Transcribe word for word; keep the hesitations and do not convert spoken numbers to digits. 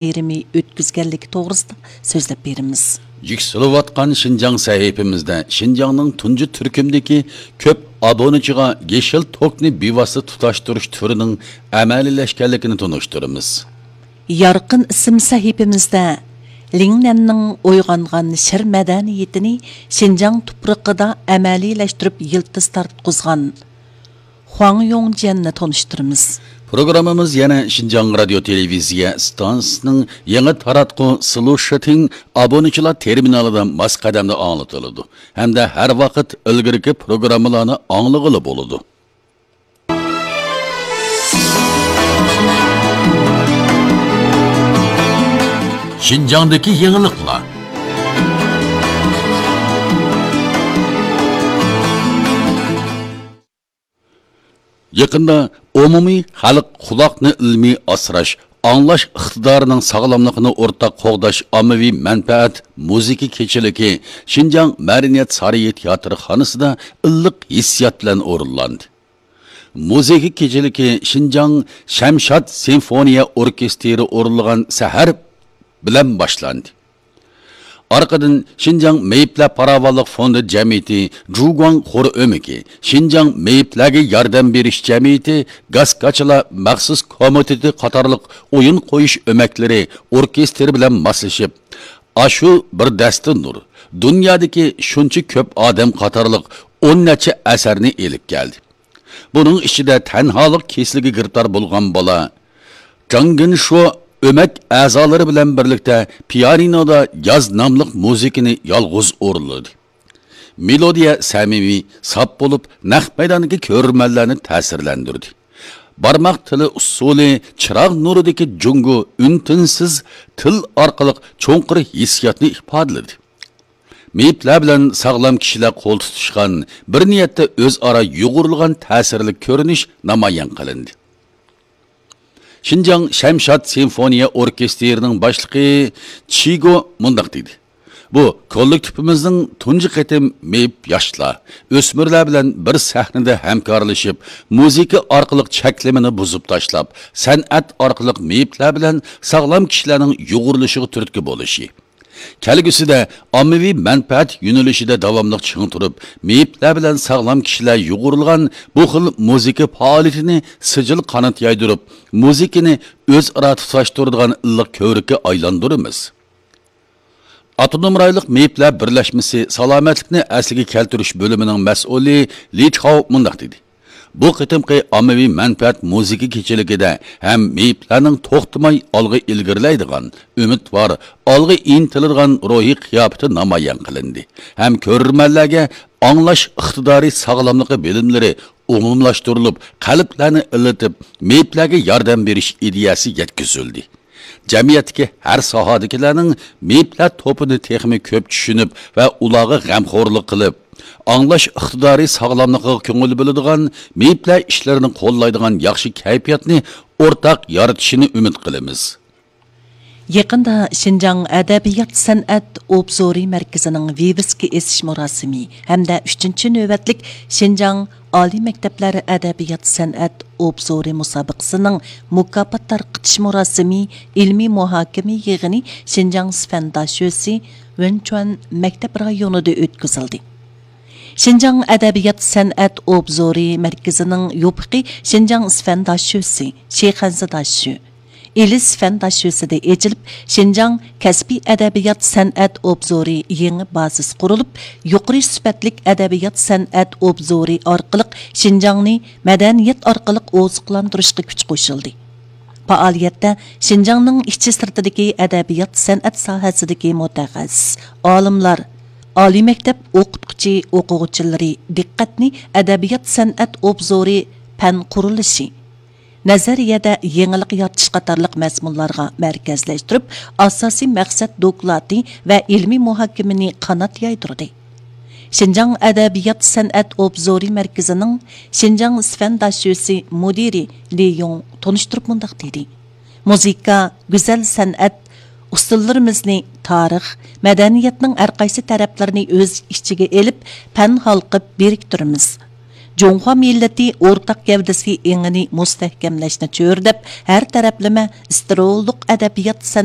بايرىمى ئۆتكۈزگەنلىكى توغرىسىدا سۆزلەپ بېرىمىز. يۈكسىلىۋاتقان شىنجاڭ سەھىپىمىزدە شىنجاڭنىڭ تۇنجى تۈركۈمدىكى كۆپ ئابۇنىچىغا يېشىل توكنى بىۋاسىتە تۇتاشتۇرۇش تۈرىنىڭ ئەمەلىيلەشكەنلىكىنى تونۇشتۇرىمىز. يارقىن ئىسىم سەھىپىمىزدە لىڭنەننىڭ ئويغانغان شىر مەدەنىيىتىنى شىنجاڭ تۇپرىقىدا ئەمەلىيلەشتۈرۈپ يىلتىز تارتقۇزغان خۇاڭ يوڭجيەننى تونۇشتۇرىمىز. پروگراممىمىز يەنە شىنجاڭ رادىيو تېلېۋىزىيە ئىستانسىسىنىڭ يېڭى تاراتقۇ سلۇشىتىڭ ئابۇنىچىلار تېرمىنالىدا ماس قەدەمدە ئاڭلىتىلىدۇ ھەمدە ھەر ۋاقىت ئىلگىرىكى پروگراممىلارنى ئاڭلىغىلى بولىدۇ. شىنجاڭدىكى يېڭىلىقلار. يېقىندا ئومۇمىي خەلق قۇلاقنى ئىلمىي ئاسراش، ئاڭلاش ئىقتىدارىنىڭ ساغلاملىقىنى ئورتاق قوغداش ئاممىۋى مەنپەئەت مۇزىكا كېچىلىكى شىنجاڭ مەدەنىيەت سارىيى تىياتىرخانىسىدا ئىللىق ھېسسىيات بىلەن ئورۇنلاندى. مۇزىكا كېچىلىكى شىنجاڭ شەمشاد سىمفونىيە ئوركېستىرى ئورۇنلىغان سەھەر بىلەن باشلاندى. ئارقىدىن شىنجاڭ مېيىپلەر پاراۋانلىق فوندى جەمئىيىتى، جۇگۇاڭ خور ئۆمىكى، شىنجاڭ مېيىپلەرگە ياردەم بېرىش جەمئىيىتى، گاسكاچىلار مەخسۇس كومىتېتى قاتارلىق ئويۇن قويۇش ئۆمەكلىرى ئوركېستىرى بىلەن ماسلىشىپ، ئاشۇ بىر دەستە نۇر، دۇنيادىكى شۇنچە كۆپ ئادەم قاتارلىق ئون نەچچە ئەسەرنى ئېلىپ كەلدى. بۇنىڭ ئىچىدە تەنھالىق كېسىلىگە گىرىپتار بولغان بالا جاڭ گېنشۇ ئۆمەك ئەزالىرى بىلەن بىرلىكتە پىيانىنودا ياز ناملىق مۇزىكىنى يالغۇز ئورۇنلىدى. مېلودىيە سەمىمىي، ساپ بولۇپ، نەق مەيداندىكى كۆرۈرمەنلەرنى تەسىرلەندۈردى. بارماق تىلى ئۇسسۇلى، چىراغ نۇرىدىكى جۇڭگو ئۈن-تىنسىز تىل ئارقىلىق چوڭقۇر ھېسسىياتنى ئىپادىلىدى. مېيىپلەر بىلەن ساغلام كىشىلەر قول تۇتۇشقان، بىر نىيەتتە ئۆزئارا يۇغۇرۇلغان تەسىرلىك كۆرۈنۈش نامايان قىلىندى. شىنجاڭ شەمشاد سىمفونىيە ئوركېستىرىنىڭ باشلىقى چىگو مۇنداق دېدى: «بۇ كوللېكتىپىمىزنىڭ تۇنجى قېتىم مېيىپ ياشلار، ئۆسمۈرلەر بىلەن بىر سەھنىدە ھەمكارلىشىپ، مۇزىكا ئارقىلىق چەكلىمىنى بۇزۇپ تاشلاپ، سەنئەت ئارقىلىق مېيىپلەر بىلەن ساغلام كىشىلەرنىڭ يۇغۇرۇلۇشىغا تۈرتكە بولۇشى، كەلگۈسىدە ئاممىۋى مەنپەئەت يۆنىلىشىدە داۋاملىق چىڭ تۇرۇپ، مېيىپلەر بىلەن ساغلام كىشىلەر يۇغۇرۇلغان بۇ خىل مۇزىكا پائالىيىتىنى سىجىل قانات يايدۇرۇپ، مۇزىكىنى ئۆزئارا تۇتاشتۇرىدىغان ئىللىق كۆۋرۈككە ئايلاندۇرىمىز.» ئاپتونوم رايونلۇق مېيىپلەر بىرلەشمىسى سالامەتلىكنى ئەسلىگە كەلتۈرۈش بۆلۈمىنىڭ مەسئۇلى لى چاۋ مۇنداق دېدى: «بۇ قېتىمقى ئاممىۋى مەنپەئەت مۇزىكا كېچىلىكىدە ھەم مېيىپلەرنىڭ توختىماي ئالغا ئىلگىرىلەيدىغان، ئۈمىدۋار، ئالغا ئىنتىلىدىغان روھىي قىياپىتى نامايان قىلىندى ھەم كۆرۈرمەنلەرگە ئاڭلاش ئىقتىدارى ساغلاملىقى بىلىملىرى ئومۇملاشتۇرۇلۇپ، قەلبلەرنى ئىللىتىپ، مېيىپلەرگە ياردەم بېرىش ئىدىيەسى يەتكۈزۈلدى.» جەمئىيەتتىكى ھەر ساھەدىكىلەرنىڭ مېيىپلەر توپىنى تېخىمۇ كۆپ چۈشىنىپ ۋە ئۇلارغا غەمخورلۇق قىلىپ، ئاڭلاش ئىقتىدارى ساغلاملىقىغا كۆڭۈل بۆلىدىغان، مېيىپلەر ئىشلىرىنى قوللايدىغان ياخشى كەيپىياتنى ئورتاق يارىتىشىنى ئۈمىد قىلىمىز. يېقىندا شىنجاڭ ئەدەبىيات سەنئەت ئوبزورى مەركىزىنىڭ ۋىۋىسكا ئېسىش مۇراسىمى ھەمدە ئۈچىنچى نۆۋەتلىك شىنجاڭ ئالىي مەكتەپلەر ئەدەبىيات سەنئەت ئوبزورى مۇسابىقىسىنىڭ مۇكاپات تارقىتىش مۇراسىمى، ئىلمىي مۇھاكىمە يىغىنى شىنجاڭ سىفەن داشۆسى ۋېنچۈەن مەكتەپ رايونىدا ئۆتكۈزۈلدى. شىنجاڭ ئەدەبىيات سەنئەت ئوبزورى مەركىزىنىڭ يوپۇقى شىنجاڭ سىفەن داشۆسى، شىخەنزە داشۆ، ئىلىس فەن داشۆسىدە ئېچىلىپ، شىنجاڭ كەسپىي ئەدەبىيات سەنئەت ئوبزورى يېڭى بازىسى قۇرۇلۇپ، يۇقىرى سۈپەتلىك ئەدەبىيات سەنئەت ئوبزورى ئارقىلىق شىنجاڭنى مەدەنىيەت ئارقىلىق ئوزۇقلاندۇرۇشقا كۈچ قوشۇلدى. پائالىيەتتە شىنجاڭنىڭ ئىچى سىرتىدىكى ئەدەبىيات سەنئەت ساھەسىدىكى مۇتەخەسسىس، ئالىملار، ئالىي مەكتەپ ئوقۇتقۇچى ئوقۇغۇچىلىرى دىققەتنى ئەدەبىيات سەنئەت ئوبزورى پەن قۇرۇلۇشى، نەزەرىيەدە يېڭىلىق يارىتىش قاتارلىق مەزمۇنلارغا مەركەزلەشتۈرۈپ، ئاساسىي مەقسەت دوكلاتى ۋە ئىلمىي مۇھاكىمىنى قانات يايدۇردى. شىنجاڭ ئەدەبىيات سەنئەت ئوبزورى مەركىزىنىڭ شىنجاڭ سىفەن داشۆسى مۇدىرى لى يۇڭ تونۇشتۇرۇپ مۇنداق دېدى: مۇزىكا، گۈزەل سەنئەت ئۇسسۇللىرىمىزنى تارىخ، مەدەنىيەتنىڭ ھەرقايسى تەرەپلىرىنى ئۆز ئىچىگە ئېلىپ، پەن ھالقىپ بىرىكتۈرىمىز. جۇڭخۇا مىللىتى ئورتاق گەۋدىسى ئېڭىنى مۇستەھكەملەشنى چۆرىدەپ، ھەر تەرەپلىمە ئىستىرولۇق ئەدەبىيات سەنئەت